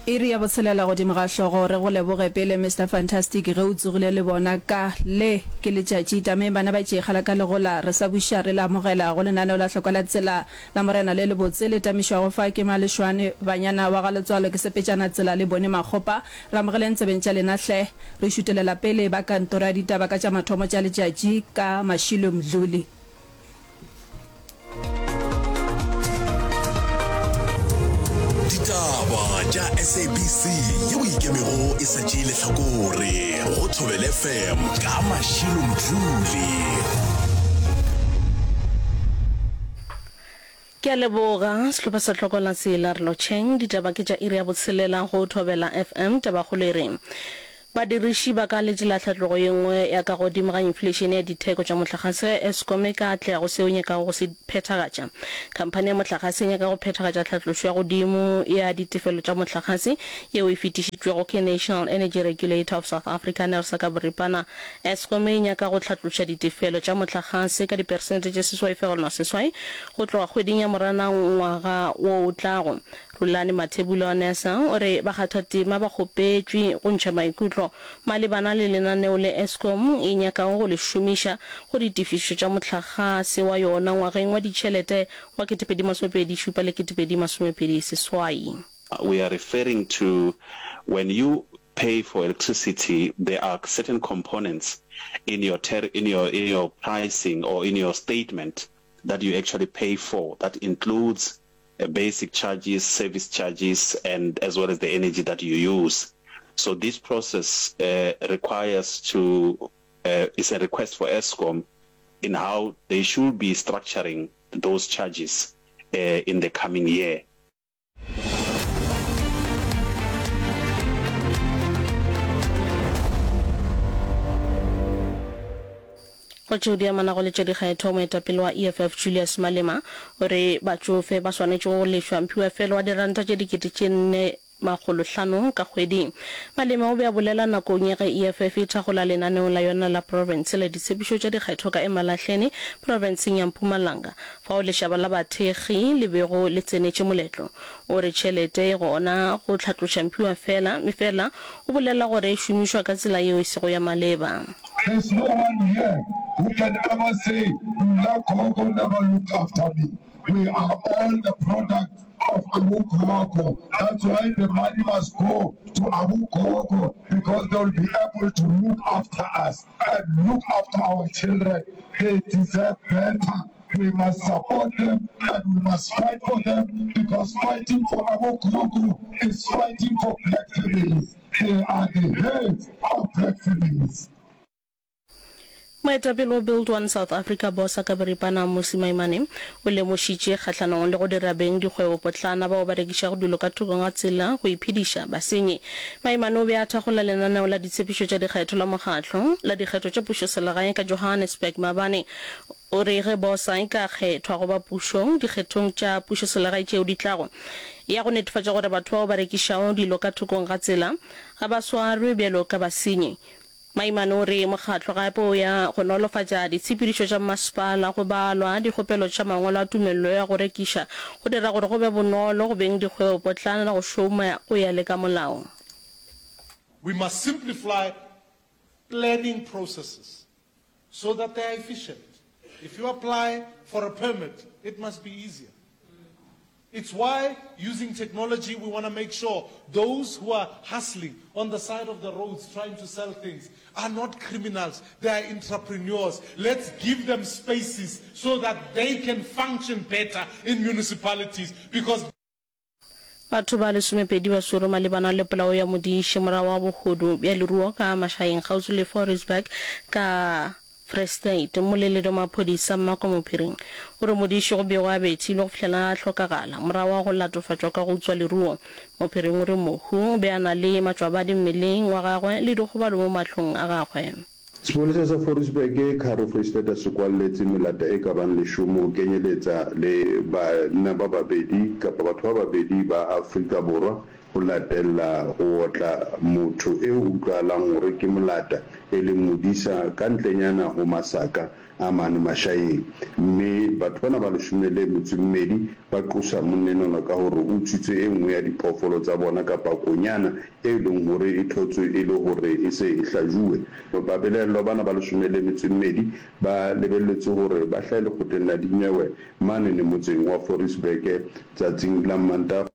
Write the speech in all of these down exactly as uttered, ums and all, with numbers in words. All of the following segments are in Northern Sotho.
Iri ya botshelela godimo ga hlogo. Re go leboge pele Mister Fantastic ge o tsogile le bona ka le ke letšatši. Tameng bana ba tšeekgala ka legola re sa buša re le amogela go lenaneo la Hlokwa la Tsela la Morena le lebotse le tamišwago fa ke Malešwane banyana wa ga Letswalo ke sepetšana tsela le bone Makgopa. Re amogeleng tsebeng tša lena hle. Re šutelela pele ba kantoro ya ditaba ka tša mathomo tša letšatši ka Mashilo Mdluli. Ditaba tša S A B C yeo ikemego e sa tšee lehlakore go Thobela F M ka Mashilo Mdluli. Ke a leboga sehlopha sa Tlhoko la Tsela re lotšheng. Ditaba ke tša iri ya botshelela go Thobela F M. Tabakgolo e re badiriši ba ka letela tlhatlogo ye nngwe ya ka godimo ga infleišene ya ditheko tša mohlagase ge Eskom e ka atlega go seo e nyakago go se phethagatša. Khamphani ya mohlagase e nyaka go phethagatša tlhatlošo ya godimo ya ditefelo tša mohlagase yeo e fetišitšwego ke National Energy Regulator of South Africa, NERSA, ka boripana. Eskom e nyaka go hlatloša ditefelo tša mohlagase ka diperesente tše seswai fegelwana seswai go tloga kgweding ya Moranang ngwaga wo o tlago. Rulani Mathebula wa NERSA o re bakgathatema ba kgopetšwe go ntšha maikutlo malebana le lenaneo le Eskom e nyakago go le šomiša go ditefišo tša mohlagase wa yona ngwageng wa ditšhelete wa ketepedi masomepedi šupa le ketepedi masomepedi seswai. We are referring to when you pay for electricity there are certain components in your in your in your pricing or in your statement that you actually pay for that includes basic charges, service charges and as well as the energy that you use. So this process uh, requires to uh, is a request for Eskom in how they should be structuring those charges uh, in the coming year. Go tšeo di amanago le tša dikgetho, moetapele wa E F F Julius Malema o re batšofe ba swanetše go lefšwa mphiwafelo wa diranta tše dikete tše nne makgolo hlano ka kgwedi. Malema o be a bolela nakong ya ge E F F e thakgola lenaneo la yona la profense la ditshepišo tša dikgetho ka Emalahleni, profenseng ya Mpumalanga, fao lešaba la bathekgi le bego le tsenetše moletlo. O re tšhelete e gona go hlatloša mphiwafela, efela o bolela gore e šomišwa ka tsela yeo e sego ya maleba. There's no one here who can ever say, Nna Gogo never looked after me. We are all the product of Abu Gogo. That's why the money must go to Abu Gogo, because they will be able to look after us and look after our children. They deserve better. We must support them and we must fight for them, because fighting for Abu Gogo is fighting for black families. They are the heads of black families. Moetapele wa Build One South Africa Bosa ka boripana Mmusi Maimane o lemošitše kgahlanong le go dira beng dikgwebopotlana bao ba rekišago dilo ka thokong ga tsela go iphediša basenyi. Maimane o be a thakgola lenaneo la ditshepišo tša dikgetho la mokgatlo la dikgetho tša pušoselegae ka Johannesburg maabane. O re ge Bosa e ka kgethwa go ba pušong dikgethong tša pušoselegae tšeo di tlago, ya go netefatša gore batho bao ba rekišago dilo ka thokong ga tsela ga ba swarwe bjalo ka basenyi. Maimane o re mokgatlo gape o ya go nolofatša ditshepedišo tša mmasepala go balwa dikgopelo tša mangwalo a tumelelo ya go rekiša go dira gore go be bonolo go beng dikgwebopotlana go šoma go ya le ka molao. We must simplify planning processes so that they are efficient. If you apply for a permit, it must be easier. It's why, using technology, we wanna make sure those who are hustling on the side of the roads trying to sell things are not criminals, they are entrepreneurs. Let's give them spaces so that they can function better in municipalities because Batho ba lesomepedi ba swerwe malebana le polao ya modiši morago ga bohodu bja leruo ka Mašaeng kgauswi le Fouriesburg ka Free State. Mmoleledi wa maphodisa Mmako Mophiring o re modiši go begwa a bethilwe go fihlela a hlokagala morago ga go latofatšwa ka go utswa leruo. Mophiring o re mohu o be a na le matšwabadi mmeleng wa gagwe le dikgobalo mo mahlong a gagwe. Sepolesa sa Fouriesburg, Karoo Freistata se kwalletse melata e ka bang leshome ho kenyeletsa le banna ba babedi kapa batho ba babedi ba Afrika Borwa ho latella ho otla motho eo ho utlwahalang hore ke molata e leng modisa ka ntlenyana ho masaka a mane Mašaeng. Mme batho bana ba leshome le metso e mmedi ba qosa monna enwana ka hore o utswitse e nngwe ya diphoofolo tsa bona kapa konyana e leng hore e thotswe e le hore e se e hlajuwe. Babelaellwa bana ba leshome le metso e mmedi ba lebelletswe hore ba hlahe lekgotleng la dinyewe manene motseng wa Forisbeke tsatsing la Mmantaga.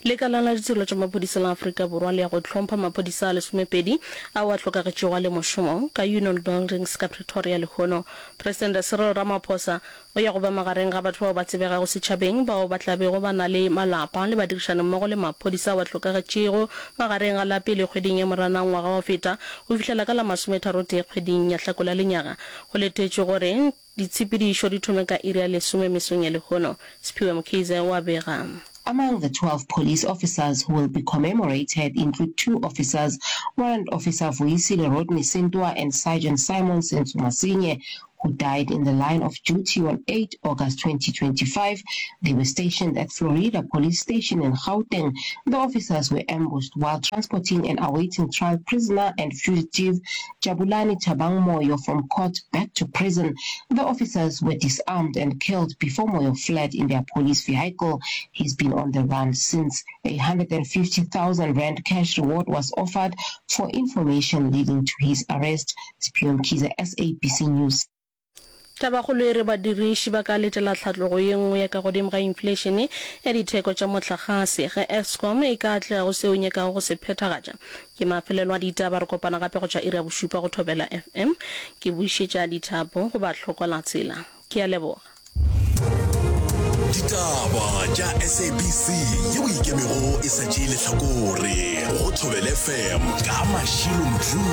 Lekala la Ditirelo tša Maphodisa la Afrika Borwa le ya go hlompha maphodisa a lesomepedi ao a hlokagetšego a le mošomong ka Union Buildings ka Pretoria lehono. Presidente Cyril Ramaphosa o ya go ba magareng ga batho bao ba tsebegago setšhabeng bao ba tla bego ba na le malapa le badirišanimmogo le maphodisa ao a hlokagetšego magareng ga la pele kgweding ya Moranang ngwaga wa go feta go fihlela ka la masometharotee kgweding ya Hlakola lenyaga. Go letetšwe gore ditshepedišo di thome ka iri ya lesome mesong ya lehono. Siphiwe Mkhize o a bega. Among the twelve police officers who will be commemorated include two officers, Warrant Officer Vuyisile Rodney Sintwa and Sergeant Simon Senzo Masinye, who died in the line of duty on eight August twenty twenty-five. They were stationed at Florida Police Station in Gauteng. The officers were ambushed while transporting and awaiting trial prisoner and fugitive Jabulani Thabang Moyo from court back to prison. The officers were disarmed and killed before Moyo fled in their police vehicle. He's been on the run since. A hundred and fifty thousand rand cash reward was offered for information leading to his arrest. Siphiwe Mkhize, S A B C News. Tabakgolo e re badiriši ba ka letela tlhatlogo ye nngwe ya ka godimo ga infleišene ya ditheko tša mohlagase ge Eskom e ka atlega go seo e nyakago go se phethagatša. Ke mafelelo a ditaba, re kopana gape go tšwa iri ya bošupa go Thobela F M. Ke bušetša dithapo go bahlokola-tsela. Ke a leboga. Ditaba tša S A B C yeo e ikemego e sa tšee lehlakore go Thobela F M ka Mashilo Mdluli.